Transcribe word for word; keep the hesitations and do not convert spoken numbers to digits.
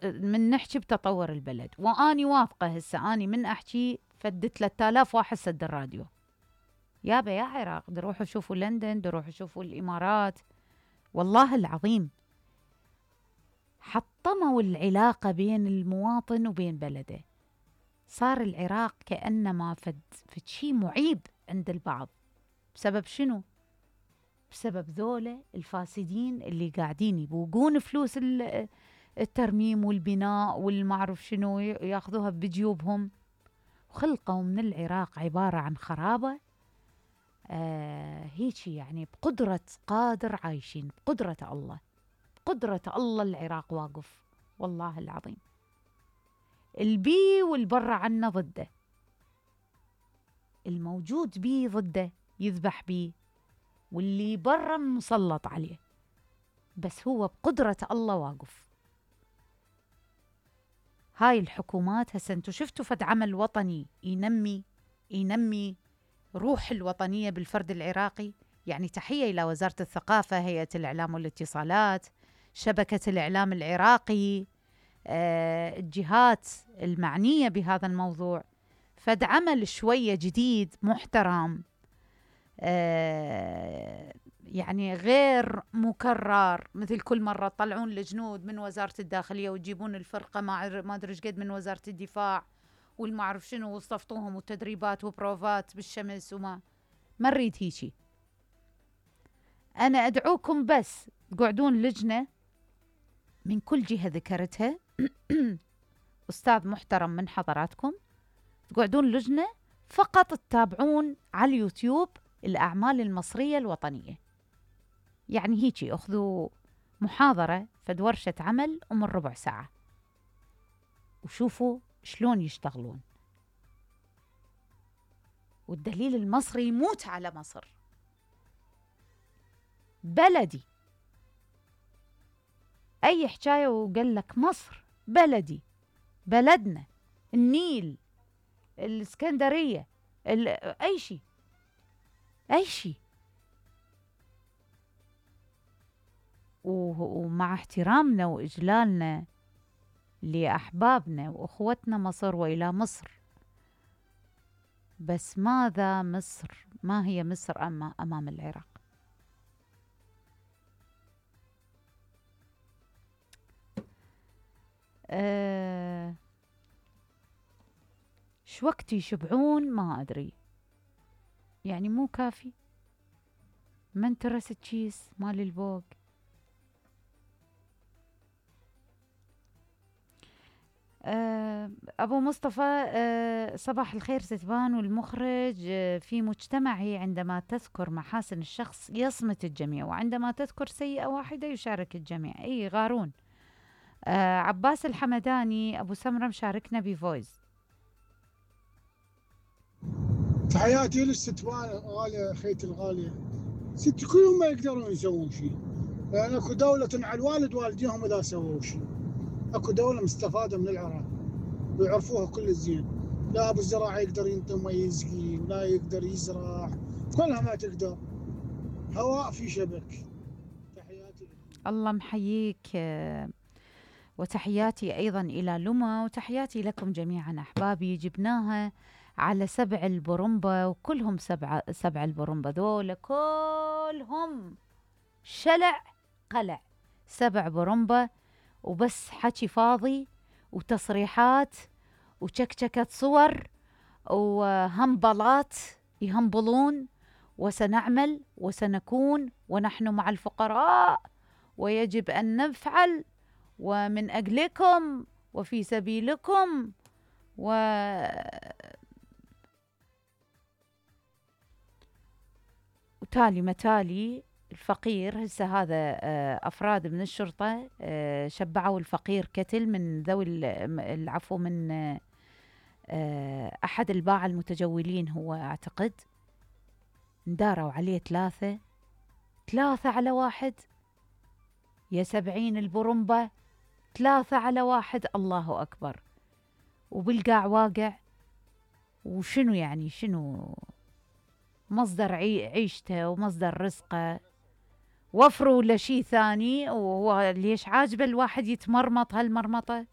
من نحكي بتطور البلد، وأني واثقة هسه أني من أحكي فد ثلاثة آلاف واحد سد الراديو. يابا يا عراق دروحوا شوفوا لندن، دروحوا شوفوا الإمارات، والله العظيم حطموا العلاقة بين المواطن وبين بلده. صار العراق كأنما فد فد شي معيب عند البعض. بسبب شنو؟ بسبب ذولا الفاسدين اللي قاعدين يبوقون فلوس الترميم والبناء والمعروف شنو، ياخذوها بجيوبهم، وخلقوا من العراق عبارة عن خرابة. آه هيجي يعني بقدرة قادر عايشين، بقدرة الله، بقدرة الله العراق واقف، والله العظيم. البي والبرة عنا ضده، الموجود بيه ضده يذبح بيه، واللي برا مسلط عليه، بس هو بقدرة الله واقف. هاي الحكومات هسه انتو شفتوا فد عمل وطني ينمي ينمي روح الوطنية بالفرد العراقي؟ يعني تحية إلى وزارة الثقافة، هيئة الإعلام والاتصالات، شبكة الإعلام العراقي، آه، الجهات المعنية بهذا الموضوع. فد عمل شوية جديد محترم، آه يعني غير مكرر، مثل كل مرة تطلعون الجنود من وزارة الداخلية وتجيبون الفرقة ما ما أدري قد من وزارة الدفاع والمعرف شنو، وصفتوهم وتدريبات وبروفات بالشمس، وما ما نريد هيجي. أنا أدعوكم بس تقعدون لجنة من كل جهة ذكرتها أستاذ محترم من حضراتكم، تقعدون لجنة فقط تتابعون على اليوتيوب الأعمال المصرية الوطنية. يعني هيجي أخذوا محاضرة فد ورشة عمل ومن ربع ساعة، وشوفوا شلون يشتغلون. والدليل المصري يموت على مصر، بلدي، أي حكاية وقال لك مصر بلدي، بلدنا، النيل، الإسكندرية، أي شيء أي شيء. ومع احترامنا وإجلالنا لأحبابنا وأخوتنا مصر وإلى مصر، بس ماذا مصر؟ ما هي مصر أمام العراق؟ أه شو وقت يشبعون ما أدري، يعني مو كافي. من ترس التشيس مال البوق. أه أبو مصطفى، أه صباح الخير ستبان والمخرج. أه في مجتمعي عندما تذكر محاسن الشخص يصمت الجميع، وعندما تذكر سيئة واحدة يشارك الجميع. أي غارون. أه عباس الحمداني أبو سمرة مشاركنا بفويز. تحياتي للستوان الغالية، خيتي الغالية. ست كلهم ما يقدرون يسوون شيء، لأن اكو دولة على الوالد والديهم إذا سووا شيء. اكو دولة مستفادة من العراق ويعرفوها كل الزين. لا أبو الزراعة يقدر ينطي ما يسقي، ولا يقدر يزرع، كلها ما تقدر. هواء في شبك. تحياتي لكم. الله محييك، وتحياتي أيضا إلى لما، وتحياتي لكم جميعا أحبابي. جبناها على سبع البرمبة، وكلهم سبع سبع البرمبة ذولا كلهم شلع قلع، سبع برمبة، وبس حكي فاضي وتصريحات وشكشكة صور وهمبلات يهمبلون. وسنعمل وسنكون ونحن مع الفقراء، ويجب أن نفعل ومن أجلكم وفي سبيلكم. و وتالي متالي الفقير. هسه هذا أفراد من الشرطة شبعوا الفقير كتل من ذوي العفو من أحد الباعة المتجولين، هو أعتقد نداروا عليه ثلاثة ثلاثة على واحد. يا سبعين البرمبة، ثلاثة على واحد، الله أكبر. وبالقاع واقع. وشنو يعني شنو مصدر عيشته ومصدر رزقه؟ وفروا لشي ثاني. وهو ليش عاجبه الواحد يتمرمط هالمرمطة؟